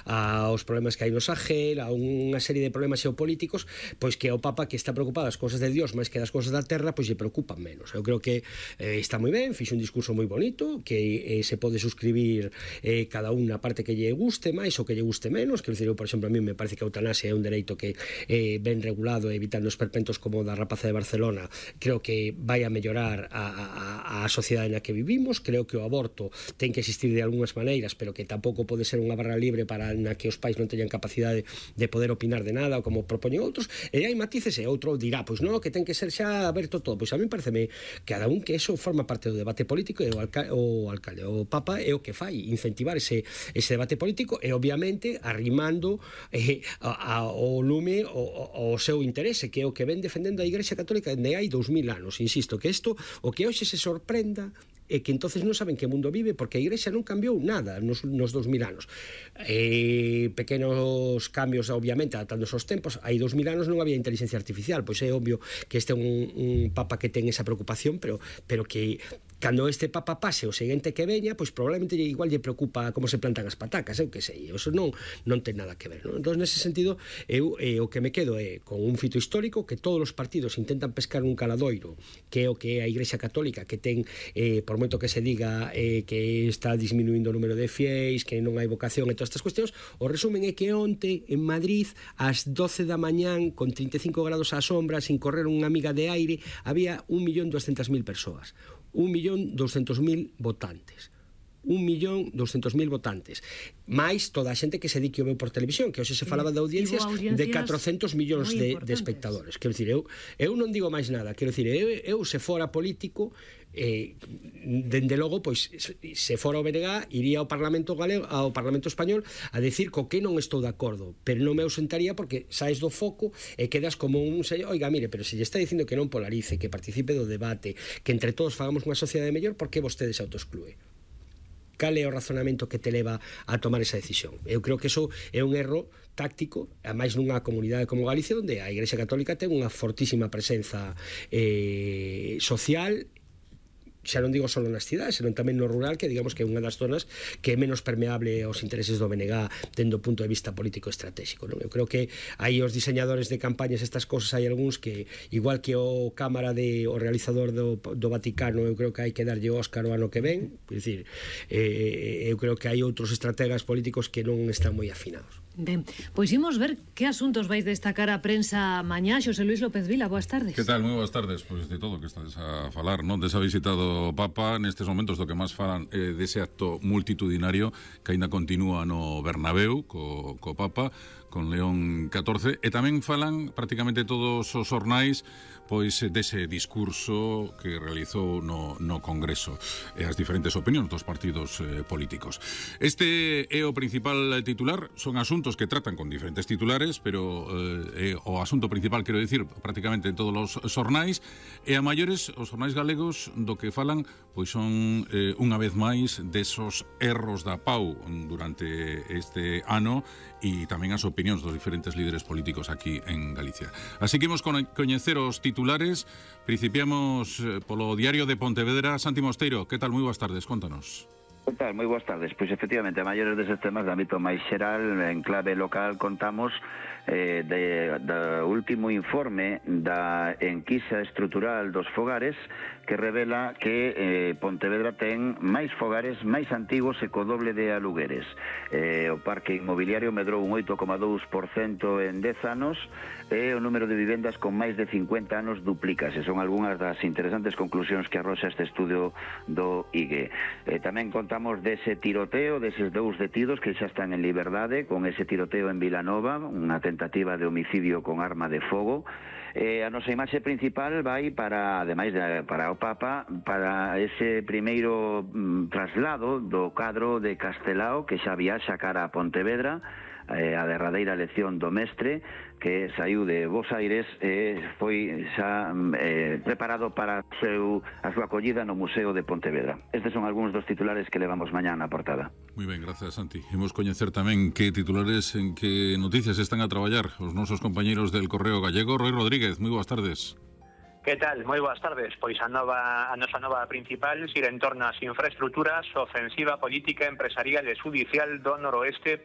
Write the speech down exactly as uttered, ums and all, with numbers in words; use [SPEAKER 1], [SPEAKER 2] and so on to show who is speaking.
[SPEAKER 1] aos problemas que hai no Sahel, a unha serie de problemas xeopolíticos, pois que o Papa, que está preocupado das cousas de Dios máis que das cousas da terra, pois lle preocupan menos. Eu creo que eh, está moi ben, fixe un discurso moi bonito, que eh, se pode suscribir eh, cada unha parte que lle guste máis ou que lle guste menos. Quero dicir, eu, por exemplo, a mí me parece que a eutanasia é un dereito que eh, ben regulado, evitando os perpentos como da rapaza de Barcelona, creo que vai a mellorar a, a, a sociedade na que vivimos. Creo que o aborto ten que existir de algunhas maneiras, pero que tampouco pode ser unha barra libre para na que os pais non teñan capacidade de poder opinar de nada, ou como propoñen outros. E hai matices, e outro dirá, pois non, que ten que ser xa aberto todo. Pois a mí pareceme cada un que eso forma parte do debate político, e o, alca o alcalde, o Papa é o que fai, incentivar ese, ese debate político, e obviamente arrimando eh, a, a, o lume o, o seu interese, que é o que ven defendendo a Igrexa Católica de hai dous mil anos. Insisto, que isto, o que hoxe se sorprenda e que entonces non saben que mundo vive, porque a Igrexa non cambiou nada nos, nos dos mil anos. Eh, pequenos cambios, obviamente, adaptándose aos tempos. Hai dos mil anos non había inteligencia artificial, pois é obvio que este é un, un Papa que ten esa preocupación, pero, pero que cando este Papa pase o seguinte que veña, pois probablemente igual lle preocupa como se plantan as patacas, eu que sei, eso non, non ten nada que ver, non? Entón, nese sentido, eu eh, o que me quedo é con un fito histórico, que todos os partidos intentan pescar un caladoiro, que é o que é a Igrexa Católica, que ten, eh, por moito que se diga eh, que está disminuindo o número de fiéis, que non hai vocación e todas estas cuestións, o resumen é que onte en Madrid ás doce da mañán con trinta e cinco grados á sombra, sin correr unha miga de aire, había un millón doscientas mil persoas, un millón doscientos mil votantes, un millón doscientos mil votantes, máis toda a xente que se di que o veu por televisión, que hoxe se falaba de audiencias, audiencias de catrocentos millóns de, de espectadores. Quero dicir, eu, eu non digo máis nada, quero dicir, eu, eu se fora político, eh, dende logo, pois se fora o B N G iría ao Parlamento galego, ao Parlamento español, a decir co que non estou de acordo, pero non me ausentaría porque saes do foco e quedas como un sello, oiga, mire, pero se lle está dicindo que non polarice, que participe do debate, que entre todos fagamos unha sociedade mellor, por que vostede se autoexclúe? Cal é o razonamento que te leva a tomar esa decisión? Eu creo que eso é un erro táctico, a máis nunha comunidade como Galicia, onde a Igrexa Católica ten unha fortísima presenza eh, social, xa non digo só nas cidades, senón tamén no rural, que digamos que é unha das zonas que é menos permeable aos intereses do B N G dendo o punto de vista político estratégico, non? Eu creo que aí os diseñadores de campañas, estas cosas, hai algúns que, igual que o cámara de o realizador do, do Vaticano, eu creo que hai que darlle o Óscar o ano que ven, é dicir, eh, eu creo que hai outros estrategas políticos que non están moi afinados.
[SPEAKER 2] Ben, pois imos ver que asuntos vais destacar a prensa mañá. Xosé Luis López Vila, boas tardes.
[SPEAKER 3] Que tal? Moi boas tardes. Pois de todo que estás a falar, non? Desa visita do Papa, nestes momentos do que máis falan eh, dese acto multitudinario que aínda continúa no Bernabéu co, co Papa, con León catorce, e tamén falan prácticamente todos os xornais pois dese discurso que realizou no, no Congreso e as diferentes opinións dos partidos eh, políticos. Este é o principal titular, son asuntos que tratan con diferentes titulares, pero eh, o asunto principal, quero dicir, prácticamente en todos os xornais, e a maiores os xornais galegos do que falan pois son eh, unha vez máis desos erros da P A U durante este ano e tamén as opinións dos diferentes líderes políticos aquí en Galicia. Así que imos coñecer os titulares. Principiamos polo Diario de Pontevedra. Santi Mosteiro, que tal? Moi boas tardes, contanos.
[SPEAKER 4] Que tal? Moi boas tardes. Pois efectivamente, a maiores deses temas de ámbito máis xeral, en clave local, contamos eh, de, do último informe da enquisa estrutural dos fogares, que revela que eh, Pontevedra ten máis fogares máis antigos e co doble de alugueres. Eh, o parque inmobiliario medrou un oito coma dous por cento en dez anos e o número de vivendas con máis de cincuenta anos duplícase. Son algunhas das interesantes conclusións que arroxa este estudio do I G E. Eh, tamén contamos dese tiroteo, deses dous detidos que xa están en liberdade, con ese tiroteo en Vilanova, unha tentativa de homicidio con arma de fogo. Eh, a nosa imaxe principal vai para, ademais de, para o Papa, para ese primeiro mm, traslado do cadro de Castelao, que xa viaxa cara a Pontevedra, eh, a derradeira lección do mestre, que saiu de Bos Aires e eh, foi xa eh, preparado para seu, a súa acollida no Museo de Pontevedra. Estes son algúns dos titulares que levamos mañá na portada.
[SPEAKER 3] Moi ben, gracias, Santi. Imos coñecer tamén que titulares, en que noticias están a traballar os nosos compañeiros del Correo Gallego. Roy Rodríguez, moi boas tardes.
[SPEAKER 5] Que tal? Moi boas tardes. Pois a nova a nosa nova principal xira en torno ás infraestructuras, ofensiva política empresarial e judicial do noroeste